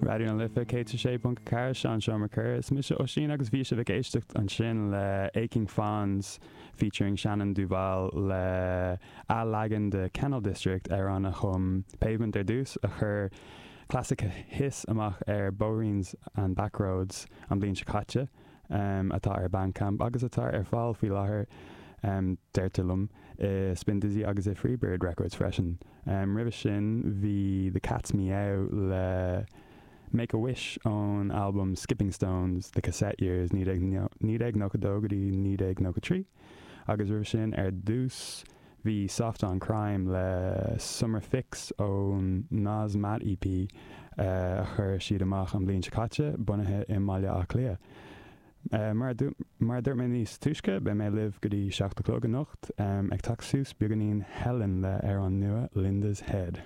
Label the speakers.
Speaker 1: Raidió na Life 106.4, Sean Seomra Coire. Is mise Oisín agus bhí sibh ag éisteacht ansin le Aching Fawns featuring Shannon Duval le athleagan de Kennel District, amhrán a chum Pavement ar dtús, a chuir Classic Hiss amach ar Bóithríns and Backroads an bhliain seo caite, atá ar Bandcamp agus atá ar fáil faoi láthair, deirtear liom, i Spindizzy agus i Freebird Records freisin. Roimhe sin bhí The Cat's Meow le Make a Wish ón albam Skipping Stones, The Cassette Years, 1992 go dtí 1993 agus roimhe sin ar dtús bhí Soft on Crime le Summer Fix ón Noz Matt EP a chuir siad amach an bhliain seo caite, bunaithe i mBaile Átha Cliath. Mar a dúirt mé níos túisce, beidh mé libh go dtí 7 a chlog anocht, ag teacht suas beagáinín Helen le amhrán nua Linda's Head.